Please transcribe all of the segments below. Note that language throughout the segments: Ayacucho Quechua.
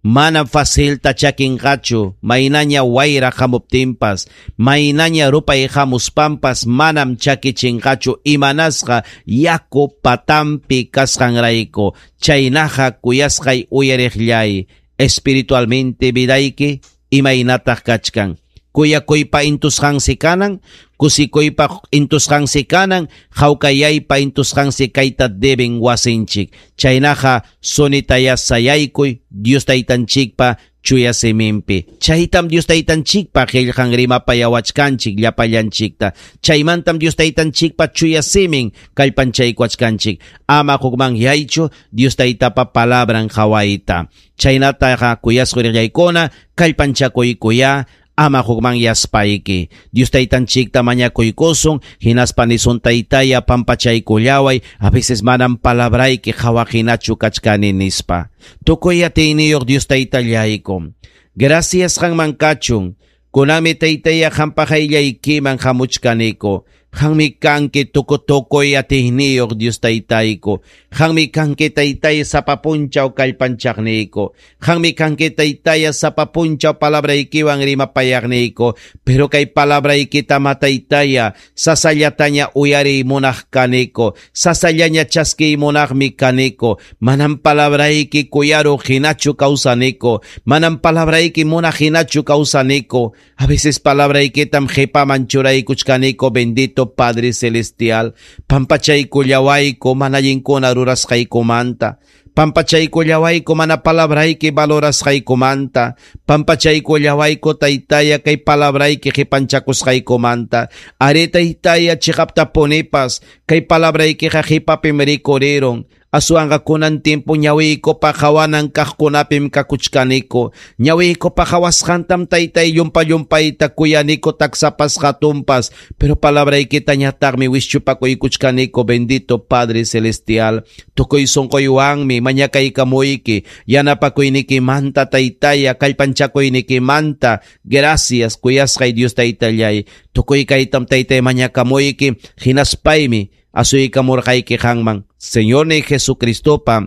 Manam facilta chakinqachu, maynaña wayra hamuptinpas, maynaña rupay hamuspanpas manam chakichinqachu imanasqa yaku patampi kasqanrayku. Chaynaqa kuyasqay uyariqllay, espiritualmente vidayki imaynataq kachkan. Kuyakuypa intusqansi kanan, kusikuypa intusqansi kanan, hawkayaypa intusqansi kayta deben wasinchik. Chaynaqa sunitaya sayaykuy Dios taytanchikpa chuya siminpi. Chaytam Dios taytanchikpa qillqan rimapayawachkanchik llapallanchikta. Chaymantam Dios taytanchikpa chuya simin kallpanchaykuachkanchik. Ama hukmanyaychu Dios taytapa palabran qhawayta. Chaynataqa kuyasqa riqllaykuna kallpanchakuykuya ama hukmanyaspayki. Dios taytanchikta mañakuykusun, hinaspa nisun taytaya pampachaykullaway, a veces manam palabrayki qhawaqhinachu kachkani nispa. Tukuy atiyniyuq Dios taytallayku. Gracias qanman kachun. Kunanmi taytaya qampa qayllaykiman hamuchkaniku. Qanmi kanki tukutukuy atiyniyuq Dios taytayku. Qanmi kanki taytaya sapa punchaw kallpanchaqniyku. Qanmi kanki taytaya sapa punchaw palabraykiwan rimapayaqniyku. Pero kay palabraykita mataytaya sasallataña uyariy munaq kaniku. Sasallaña chaskiy munaqmi kaniku. Manam palabrayki kuyaruq hinachu kawsaniku. Manam palabrayki munaq hinachu kawsaniku. A veces palabraykitam qhipaman churaykuchkaniku, bendito Padre Celestial. Pampachaykullawayku mana allinkuna rurasqaykumanta. Pampachaykullawayku mana palabrayki valorasqaykumanta. Pampachaykullawayku taytaya kay palabrayki qipanchakusqaykumanta. Ari taytaya chiqaptapunipas kay palabraykiqa qhipapim rikurirun. Aswanqa kunan tiempo ñawiykupa qawanan kaqkunapim kakuchkaniku. Ñawiykupa qawasqantam taytay llumpa-llumpayta kuyaniku taksapas hatunpas. Pero palabraykitañataqmi wischupakuykuchkaniku, bendito Padre Celestial. Tukuy sunquywanmi mañakaykamuyki. Yanapakuynikimanta taytaya, kallpanchakuynikimanta. Gracias kuyasqay Dios taytallay. Tukuy kaytam taytay mañakamuyki. Hinaspaymi asuykamurqayki qanman. Señor ni Jesucristopa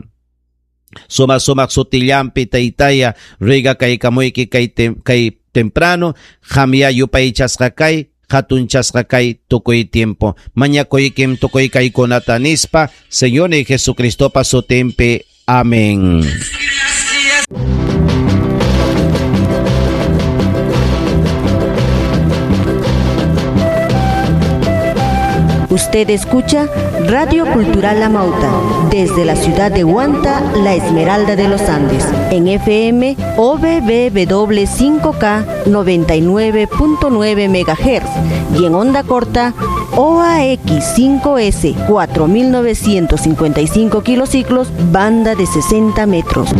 suma sumaq sutillampi taytaya riga kaykamuyki kay temprano qamya yupaychasqa kay hatunchasqa kay tukuy tiempo. Mañakuykim tukuy kaykunata nispa Señor ni Jesucristopa sutinpi. Amén. Usted escucha Radio Cultural Amauta, desde la ciudad de Huanta, la Esmeralda de los Andes, en FM OBBW 5K 99.9 MHz y en onda corta OAX 5S 4955 kilociclos, banda de 60 metros.